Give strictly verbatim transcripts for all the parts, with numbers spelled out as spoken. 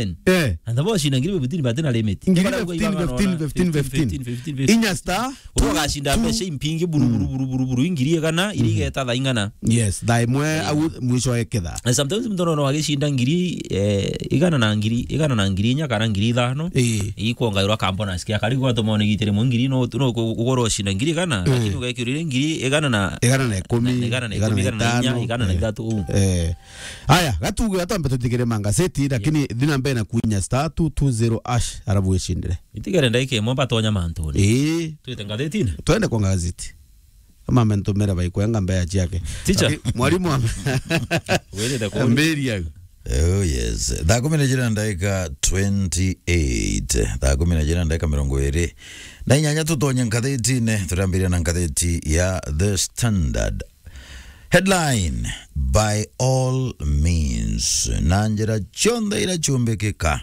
seven. Eh. Na nabo ocinda ngiri fifteen batina limit. Ngiri fifteen, fifteen, fifteen, fifteen. Inya star. Uria ugacinda mbeca impingi buru, buru, buru, buru, buru, ngiri igana, iria igeta thaa ing'ana. Yes, thaa imwe au mwisho eketha. Na sometimes mtu no agicinda ngiri, eh, igana na ngiri, igana na ngiri inya kana ngiri ithano. Ii. Ikwongairwa ka bonus kia kari gwatuma one gitire mo ngiri no, no ku-, ugoro ocinda ngiri igana, lakini ugekirire ngiri igana na, igana na ikumi, na, igana na ikumi, igana na itano, igana na inya, igana na ithatu, uu. Eh. Aya, gatuge gatwambe tutigire mangazeti, lakini thina mbere na kuinya star two two zero hash, arabu wicindire. Itigere ndaika imwe batonya mantuni. Ii. Twite ngazetini? Twende kwa ngazeti. Kama amentumira baikwenga mbea ciake. Teacher. Aki-, mwalimu wa- Wirite kuni? Mbiri au. Oh, yes. Thaa kumi na jira na ndaika twenty-eight. Thaa kumi na jira na ndaika mirongo iri na inyanya, tutonye nkathitine. Turambiria na nkathiti ya The Standard. Headline: By all means, na njira cionthe iria ciumbikika.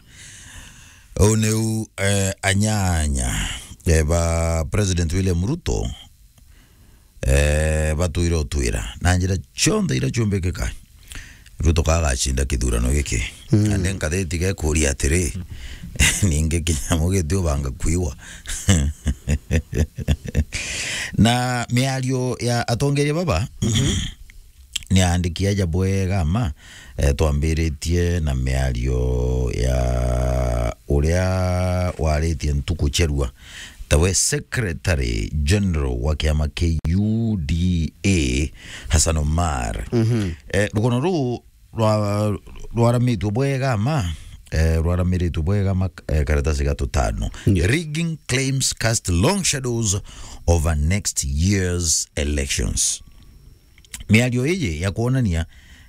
Uu niu, eh, anyanya, eh, ba President William Ruto eh, batwire utwira na njira cionthe iria ciumbikika, Ruto kagacinda kithurano giki. Mm. Na ni nkathiti gekuria atiri, ningi kinyamu giti ubanga kuigwa. Na miario ya atongeria baba, ni aandiki aja bwega ma, eh, twambiritie na miario ya uria waritie ntuku cherua, tawe Secretary General wa kiama kia U D A, Hassan Omar. Mhm. Eh, rugono ruu rwa-, rwaramitwe bwega ma, eh, rwaramiritwe bwega ma, eh, karatasi ga tutano. Yeah. Rigging claims cast long shadows over next year's elections. Miario iji ya kwonania,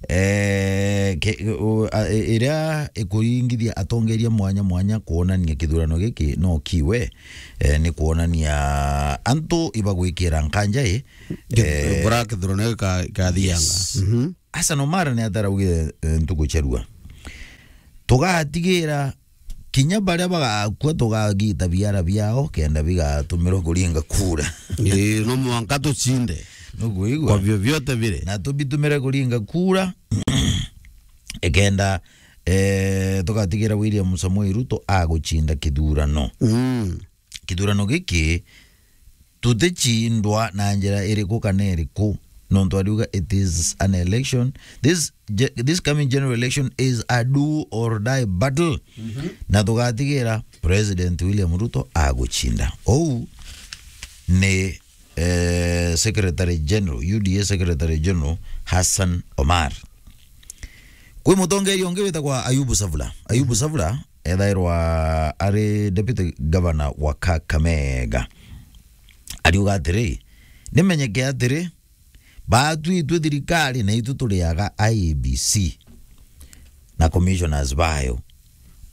eh, ke-, o-, a-, i-, iria ikuringithia atongeria mwanya mwanya kwonania kithurano giki no kiwe, eh, ni kwonania antu ibagwikira nkanja i, eh, bora kithurano gika-, gikathianga. Yes. Mhm. Hassan Omar ni ataraugire, eh, ntuku cherua, tugatigira kinya baria bagakua tugagita biara biao kenda bigatumirwa kuringa kura. Ii, no mwanka tucinde. Nukwigua? Kwa vyovyote vile. Na tubitumire kuringa kura, ikenda, eh, tugatigira William Samoei Ruto agucinda kithurano. Mm. Kithurano giki tuticindwa na njira iriku kana iriku, nontu ariuga it is an election. This ge-, this coming general election is a do or die battle. Mhm. Na tugatigira President William Ruto agucinda. Ou ni, eh, Secretary General, U D A Secretary General Hassan Omar. Kwi mutongeria ungi witagwa Ayubu Savula. Ayubu Savula ethairwa ari deputy governor wa Kakamega. Ariuga atiri, nimenyeke atiri, baatwitwe thirikari na itu turiaga I E B C na commissioners bayo.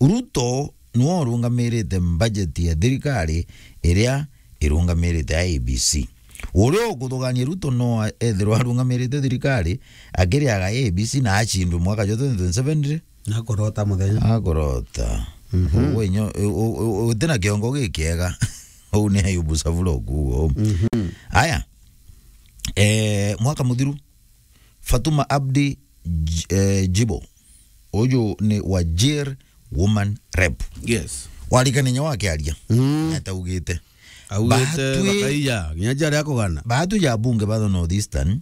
Ruto niwe urungamirite budget ya thirikari iria irungamirite I E B C. Uria ukuthugania Ruto no ethirwa arungamirite thirikari akiriaga I E B C na acindwe mwaka jwa twenty twenty-seven ri? Akorota muthenya. Akorota. Mhm. Uguo inyo-, u-, u-, u-, utina kiongo gikiega. Uu ni Ayubu Savula ukuuga uu. Mhm. Aya. Eh, mwaka muthiru, Fatuma Abdi J-, eh, Jibo. Uju ni Wajir Woman Rep. Yes. Warikania wakiaria. Mm. Ataugite. Augite Batwi-, bakaiya, kinya jaria akugana. Batu ja bunge ba North Eastern,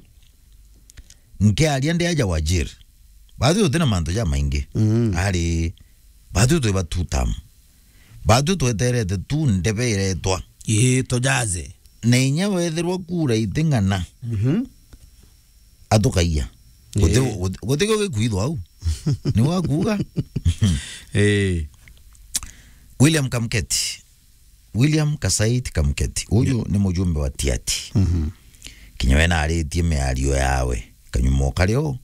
nkiaria ndi aja Wajir. Batu tutina mantu ja maingi. Mm. Ari, batu twi ba two term. Batu tweterete tu ndebe iretwa. Ii, tujaze. Na inya wethirwa kura iting'ana. Mhm. Atukaiya. Guti-, ii, guti-, gutikio gikwithwa au. Ni wakuuga. Ii. William Kamketi. William Kasait Kamketi. Uju ni mujumbe wa Tiati. Mhm. Kinya we naaritie miario yawe. Kanyuma o kario,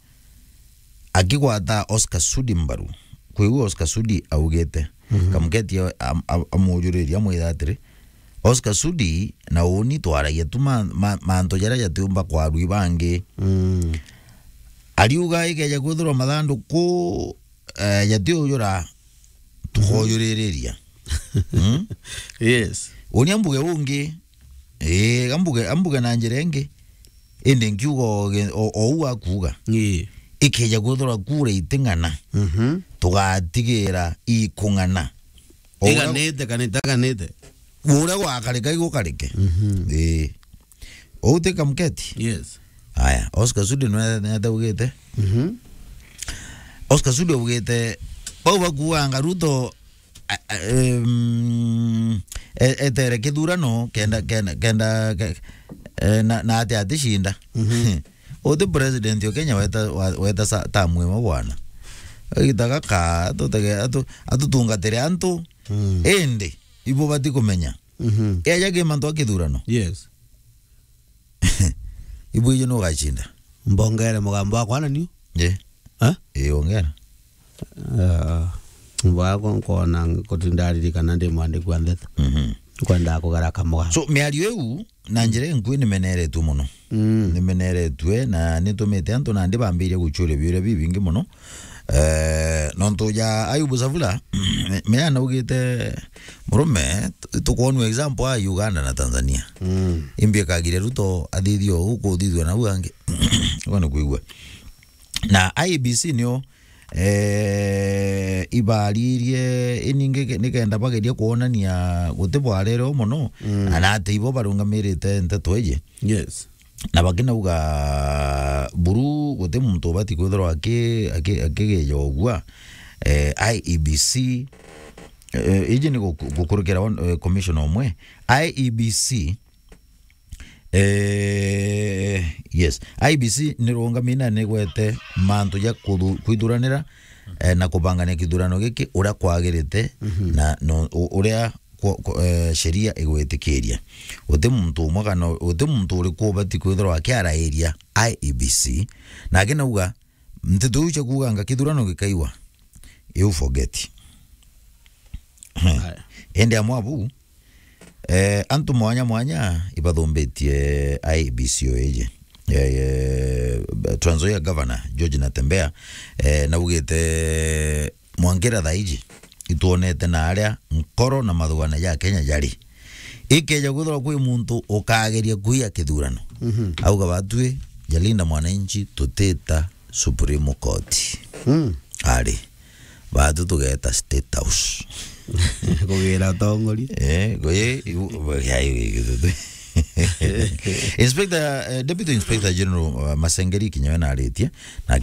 akigwata Oscar Sudi mbaru. Kwi u Oscar Sudi augite. Mhm. Kamketi am-, am-, amujuriria amwira atiri, Oscar Sudi na uni twaragia tu ma-, ma-, mantu jaria jatiumba kwarua i bangi. Mm. Ariuga ikeja kwithirwa mathanduku, eh, jatiujura, mhm, tukojuririria. Mm? Yes. Uni ambuge ungi, ii, ambuge, ambuge na njira ingi, indi nkiuga o ge-, o, o u akuuga. Ii. Ikeja kwithirwa kura iting'ana, mhm, tugatigira ikung'ana. O uria, iganite kana itaganite? Uria gwakarika igukarike. Mhm. Ii. Uu ti Kamketi? Yes. Aya, Oscar Sudi nwe-, netaugite. Mhm. Oscar Sudi augite, bau bakuanga Ruto, a, a, em, e-, etere kithurano, kenda, kenda, kenda, ke-, e, na, na ati aticinda. Mhm. Uti president o Kenya weta, wa-, weta sa-, tamu imwe bwana. Agita gaka, atutege-, atu-, atutungatire antu, mm, indi, ibo bati kumenya. Mhm. Eja ki mantu a kithurano. Yes. Ibu ije nugacinda. Mbongere mugambo wakwa na niu? Ye. Ha? Ii, ongera. Ah, mbwako nkona kutinda aririkana ndi mwandiki wa ndeto. Mhm. Nkwendaa kugera kamugambo. So, miario iu, na njira inkui nimeneretue muno. Mm. Nimeneretue na nitumite antu nandi bambiria gucuria biuria bibingi muno. Eh, nontu ja Ayubu Savula, me anaugite, murume, tu- tukwonua example a Uganda na Tanzania. Mm. Imbi akagire Ruto athithio uku uthithua nau angi. Uga ni kwigua. Na I E B C nio, eh, ibaririe iningi ke- nikenda bageria kwonania guti bwarere o mono, mm, na ati ibo barungamirite nteto iji. Yes. Na bakinauga buru guti muntu ubati kwithirwa aki- aki- akigeja ugua. Eh, I E B C, eh, iji ni guku- gukurukira one, eh, commissioner umwe. I E B C, eh, yes, I E B C ni rungamina ni gwete mantu ja kuthu- kwithuranira, eh, na kubangania kithurano giki uria kwagirite, mhm, na no- u- uria kwa- kwa- eh, sheria igwitikiria. Guti muntu umwe kana guti muntu uriku ubati kwithirwa akiarairia I E B C. Na akinauga, nteto iu cia kuuganga kithurano gikaiwa, you forget. Aya. Indi amwe abu, eh, antu mwanya mwanya ibathumbitie I E B C o iji. Eh, eh, Trans Nzoia Governor George Natembeya, eh, naugite, mwankira thaa iji itwonete na aria nkoro na mathugana ja Kenya jari. Ikeja kwithirwa kwi muntu ukageria kuia kithurano, mhm, auga batwi, Jalinda Mwananchi tutita Supreme Court. Mm. Ari. Batu tugeta State House. Kugira atongori. Eh, go- ye- igu- ya- igu- igu- Inspector, eh, Deputy Inspector General, uh, Masengeri Kinyawe naritie, na